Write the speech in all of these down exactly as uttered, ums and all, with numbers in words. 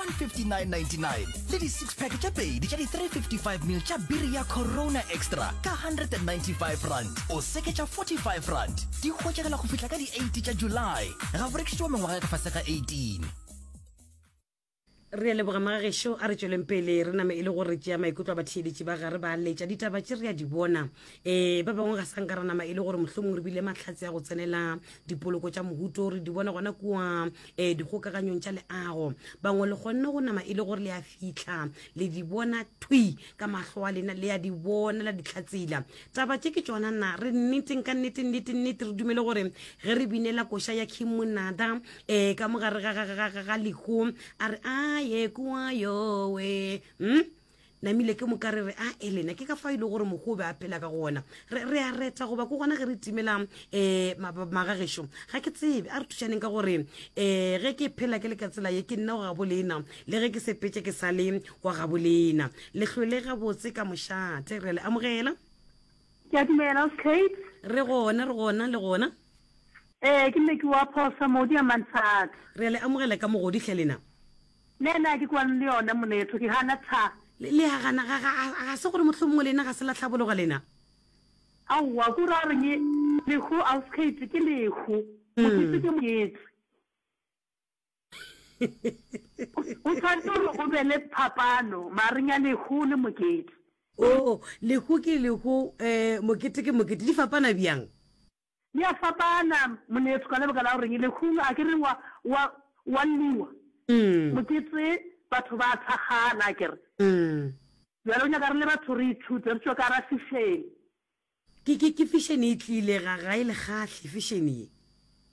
one fifty nine ninety nine le di six pack tše pedi tša di three fifty five mil tša biri ya Corona Extra ka hundred and ninety five rand o seketša forty five rand. Di hwetšagala go fihla ka di eight tša July. Ga bo rekišetšwa mengwaga ya ka fase ga eighteen. Re a leboga magagešo, a re tšweleng pele re name e le gore re tšea maikutlo a batheeletši ba gare ba letša ditaba tše re a di bona. E, ba bangwe ga sa nka ra nama e le gore mohlomong re bile mahlatse a go tsenela dipoloko tša mohuto, re di bona gona kua e, dikgokaganyong tša leago. Bangwe le kgonne go nama e le gore le a fihla le di bona thwi ka mahlo a lena, le a di bona la di hlatsela. Taba tše ke tšona na re nneteng ka nnete nnete nnete re dumele gore ge re binela koša ya King Monada e, ka mogare ga, ga, ga, ga, ga lehu a re a ye kua yowe hm namile ke moka re re a elena ke ka fa ile gore mokgwa o be a phela ka gona re re a reta goba ke gona ge re timela um magagešo ga ke tsebe a re thušaneng ka gore um ge ke phela ke le ka tsela ye ke nna wa gabo lena le ge ke sepetse ke sa le wa gabo lena le hlwele gabotse ka mošate re le amogela. Ke a dumela, Kate. Re gona, re gona, le gona. Ee, ke nne ke wa phosa modi a mantshatsa. Re a le amogela ka mogodi hle lena. Le ena ke kwane le yona monetho, ke gana tha. Le, le a gana, ga, ga, ga se gore mohlomongwe lena ga se la hlabologa lena? Aowa, ko ra reng lehu Ausi Kate ke lehu, mokete ke mokete. O tshwanetse gore go be le phapano magareng ya lehu le mokete. Oo, lehu ke lehu, eh, mokete ke mokete, di fapana bjang? Di a fapana, monetho, ka lebaka la goreng lehung a ke re wa, wa, wa lliwa, mokete batho ba a thakgala, a ke re. Bjale o nyaka re le batho re ithute, re tšwe ka gara fišene. Ke, ke, ke fišene e tlile, ga, ga e le kgahle fišene ye.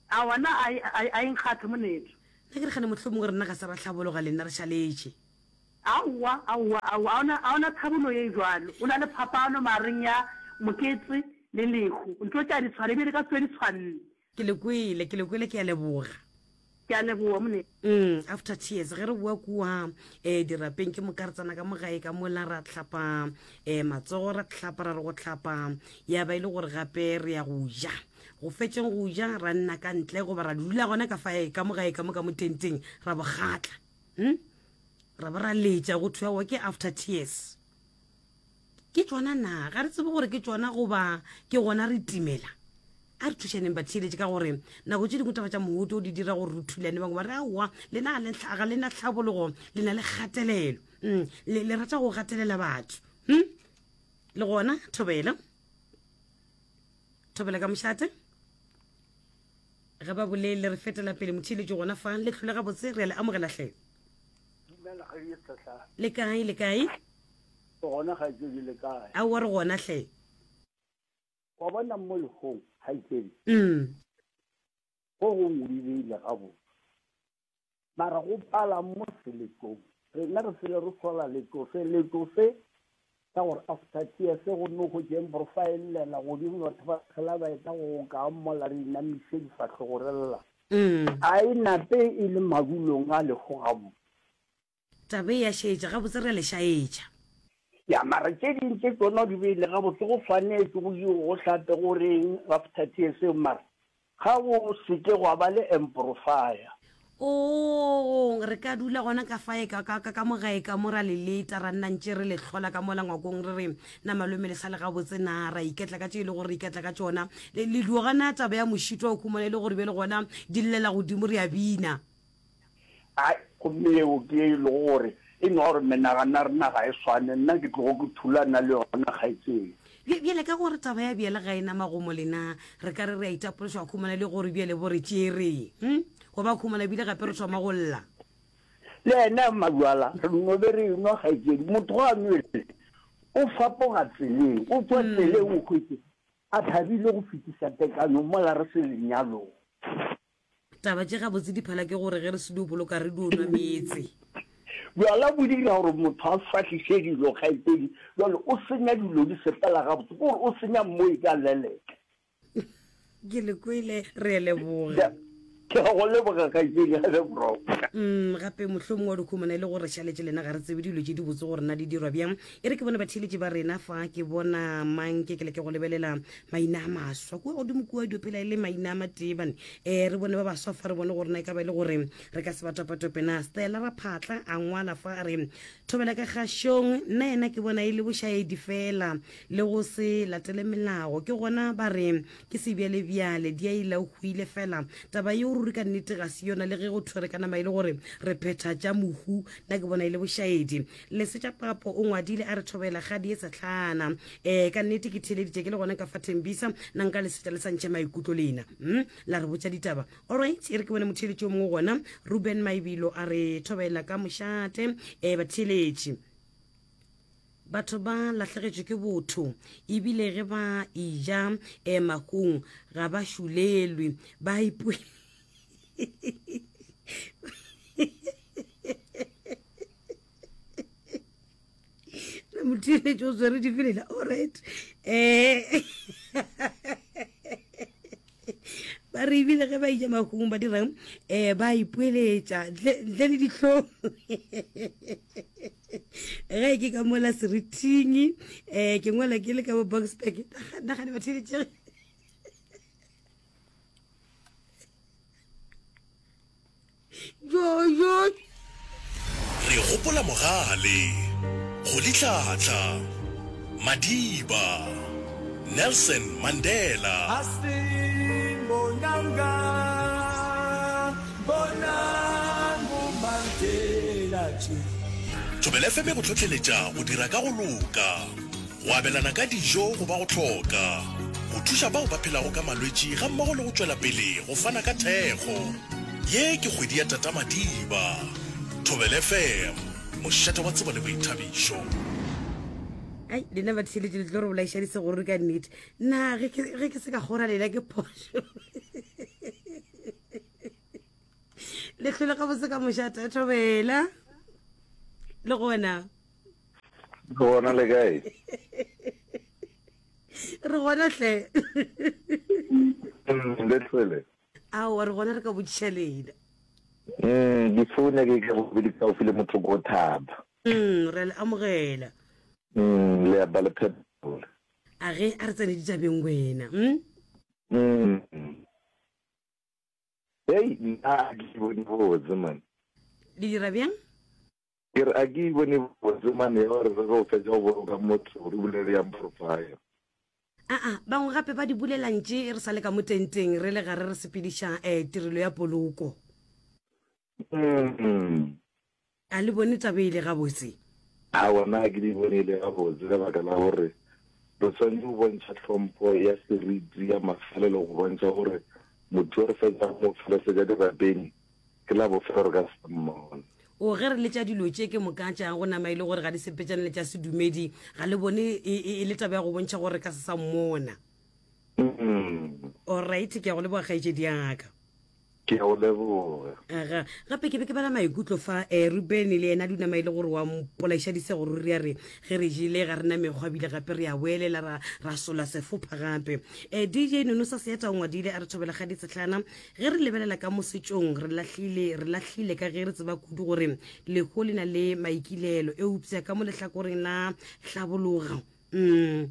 Aowa, nna a e, a e, a e nkgathe, monetho. Nna ke re kgane mohlomongwe rena ga se ra hlabologa, le nna re šaletše. Aowa, aowa, aowa, a ona, a ona thabolo ye bjalo. O na le phapano magareng ya mokete le lehu. Ntho tše a di tshwane, ebile di ka se tsoge di tshwanne. Ke le kwele, ke le kwele, ke a leboga. Ke a leboga, mone. Mm, after tears, ge re boa kua eh, dirapeng ke moka re tsena ka mo gae ka mola ra hlapa eh, matsogo ra hlapa ra re go hlapa ya ba e le gore gape re ya go ja go fetšeng go ja ra nna ka ntle goba ra dula gona ka fae ka mo gae ka mo ka mo tenteng ra bogatla hm? Ra ba ra letša go thwe aowa ke after tears. Ke tšona na? Ga re tsebe gore ke tšona goba ke gona re timela. A re thušaneng batheeletši ka gore nako tše dingwe taba tša mohuto di dira gore re thulane. Bangwe ba re aowa lena ga le na tlhabologo, le na le kgatelelo. Mm, le, le rata go gatelela batho. Hm? Le gona thobela. Thobela ka mošate. Ga ba bolele re fetela pele motheeletši gona fa le hlole gabotse re a le amogela hle. Dumela kgaetšedi Sehlare. Le kae, le kae? Re gona kgaetšedi, le kae? Aowa re gona hle. Wa bona mo lehong kgaetšedi, Mm. go gongwe o di beile gabotse, mara go pala mo seletong. Rena re fele re sola letlofe, letlofe ka gore after tears go no hwetša profile llela godimo batho ba phela ba etla go ka mola re inamiše difahlogo re lla. Mm. A e nape e le madulong a lego gabotse. Taba e ya šetša, gabotse re a le šaetša. Ya, mara tše ding tše tšona di beile gabotse, go swanetše go iwe go hlape go reng after tears eo, mara ga go se ke gwa ba le amplifier. Oo, re ka dula gona ka fae ka, ka, ka, ka mo gae ka mo ra le leta, ra nna ntše re le hlola ka mola ngwakong re re, Na malome le sa le gabotse na? Ra iketla ka tše e le gore re iketla ka tšona. Le, le dio gana taba ya mošito wa khumana e le gore bjale gona di llela godimo re a bina. Ai, gomme yeo ke ye e lego gore e no gore menagano ya rena ga e swane, nna ke tlogo ke thulana le yona kgaetšedi. Bja, bjale ka gore taba ya bjale ga e na magomo lena, re ka re re a itapološa go khumana le gore bjale bo re tšere. Hm? Go ba khumana bile gape re thoma go lla. Le yena Mabjala, re no be re enwa kgaetšedi. Motho ga a nwele, o fapoga tseleng, o tšwa tseleng o hwetše a thabile go fetiša tekanyo mola re se lenyalong. Taba tše gabotse di phala ke gore ge re se dio boloka re dio nwa meetse. Bjala bo dira gore motho a fahliše dilo kgaetšedi, bjale o senya dilo di sepela gabotse, ke gore o senya mmoi ka leleke. Ke le kwele, re a leboga. Ke a go leboga kgaetšedi ya Lebroka. Mm, gape mohlomongwe wa dikhumana e le gore šaletše lena ga re tsebe dilo tše di botse gore na di dirwa bjang. E re ke bone batheeletši ba rena fa, ke bona mang ke ke leke go lebelela maina a maswa kua godimo kua dio phela e le maina a matee bane. Um re bone ba baswa fa, re bone gore na e ka ba e le gore re ka se ba topatope na. Stella Raphatla a ngwala fa a re, Thobela ka kgašong, nna yena ke bona e le bošaedi fela le go se latele melao. Ke gona ba re ke sebjalebjale, di a ila o hwile fela. Taba yeo ruri ka nnete ga se yona, le ge go thwe re ka nama e le gore re phetha tša mohu, nna ke bona e le bošaedi. Lesetša Papo o ngwadile a re, Thobela kgadi e sehlana. Um ka nnete ke theeleditše ke le gona ka fa Thembisa, na nka lesetša le sa ntšhe maikutlo lena, mm, la re botša ditaba. Alright, e re ke bone motheeletši o mongwe gona, Ruben Maibilo a re, Thobela ka mošate. Um batheeletši, batho ba lahlegetšwe ke botho, ebile ge ba eja um mahung ga ba šulelwe, ba ipo motheeletši o swere difelela. Alright, um ba re ebile ge ba ija mahung ba dirang, um ba ipoeletša ntle le dihlong. Ge ke ka mola serithing, um ke ngwala ke le ka bo Boksburg, nagane batheeletšege. Jo jo. Re gopola Mogale, Rolihlahla, Madiba, Nelson Mandela. Thobela F M e go hlohleletša go dira ka go loka, go abelana ka dijo go ba go hloka, go thuša bao ba phelago ka malwetši gammogo le go tšwela pele go fana ka thekgo. Ye ke kgwedi ya Tata Madiba. Thobela F M, mošate wa tsebo le boithabišo. Ai, lena batheeletši le tlo re bolaiša disegoruri ka nnete. Na ge ke, ge ke se ka kgora lena ke phošo. Le hlole gabotse ka mošate, Thobela. Le gona? Re gona, le kae? Re gona hle. Mm, le hlwele. Aowa, re gona, re ka botšiša lena. Mm, difoune ke ke bobedi kaufi le motho ko thaba. Mm, re a le amogela. Mm, le apa le phetola. A ge a re tsene ditabeng wena. Mm? Mm. Hei, nna a ke bone botse man. Le dira bjang? Ke re a ke bone botse man ya gore re ge o fetša go boloka motho re bulele yang profile. Aa, bangwe gape ba di bulelang tše re sa le ka mo tenteng re le gare re sepediša um tirelo ya poloko. Mm. A le bone taba e le gabotse? Aowa, nna ga ke di bone e le gabotse ka baka la gore re swanetše go bontšha tlhompho ya seriti ya mafelelo go bontšha gore motho yo re fetšago go mo felesetša dirapeng ke la bofelo re ka se sa mmona. O ge re letša dilo tše ke moka tša go nama e le gore ga di sepetšane le tša sedumedi, ga le bone e, e, e le taba ya go bontšha gore re ka se sa mmona. Mm. Alright, ke ya go leboga kgaetšedi ya ka. Ke a go leboga. Aga, gape ke be ke bala maikutlo fa, eh, Ruben le yena a duma e le gore wa mpolaiša disego ruri, a re ge re jele ga re na mekgwa bile gape re a boelela ra, ra sola sefopha gape. Eh, D J Nonosa Seeta o ngwadile a re thobela ga ditsehlana, ge re lebelela ka mo setšong re lahlile, re lahlile ka ge re tseba kudu gore lehu le na le maikilelo, eupša ka mo lehlakoreng la hlabologa, mm,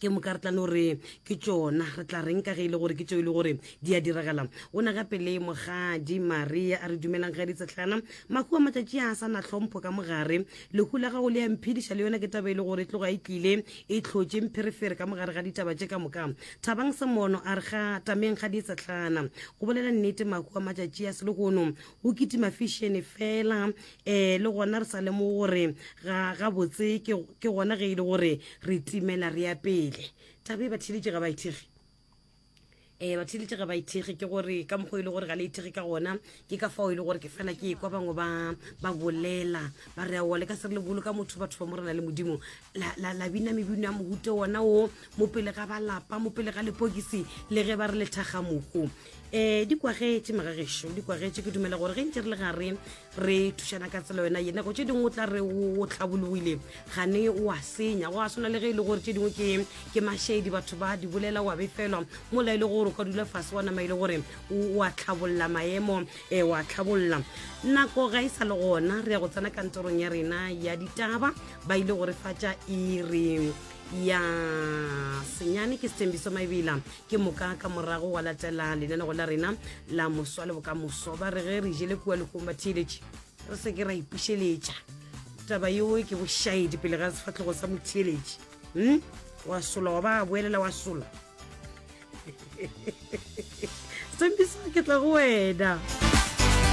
ke moka re tla no re ke tšona, re tla reng ka ge e le gore ke tšeo e le gore di a diragala. O na gape le mogadi Maria a re dumelang ge ditsehlana, mahu a matšatši a sa na hlompho ka mogare, lehu la gago le a mphediša, le yona ke taba e le gore e tloga e tlile e hlotše mpherefere ka mogare ga ditaba tše ka moka. Thabang Semono a re ga tameng ga ditsehlana, go bolela nnete mahu a matšatši a selehono go kitima fišene fela, um le gona re sa lemoge gore ga gabotse ke, ke gona ge e le gore re timela re ya pele. Taba e batheeletši ga ba ithekge. Eh, batheeletši ga ba ithekge, ke gore ka mokgwa e le gore ga le ithekge ka gona, ke ka fao e le gore ke fela ke ekwa bangwe ba, ba bolela ba re aowa le ka se re le boloka motho, batho ba Morena le Modimo, la, la, la bina mebino ya mohuta wona wo mo pele ga ba lapa, mo pele ga lepokisi, le ge ba re lethakga mohu. Um di kwagetše magagešo, di kwagetše. Ke dumela gore ge ntše re le gare re thušana ka tsela yona ye, nako tše dingwe o tla re o tlhabologile, gane o a senya. Go a swana le ge e le gore tše dingwe ke ke mašedi, batho ba di bolela wa befelwa, mola e le gore o ka dula fase wa nama e le gore o a tlhabolla maemo, um wa tlhabolla. Nako ga e sa le gona, re ya go tsena kantorong ya rena ya ditaba, ba ile go re fatša iri ya senyane. Ke Sethembiso Maebela, ke moka ka morago wa latela lenanego la rena la moswa le bokamoso. Ba re ge re jele kua lekgong batheeletše, re se ke ra ipušeletša taba yeo, ke bošaedi pele ga sefatlhego sa motheeletši. Hmm? Wa sola wa ba boelela wa sola. Sethembiso, ke tla go wena.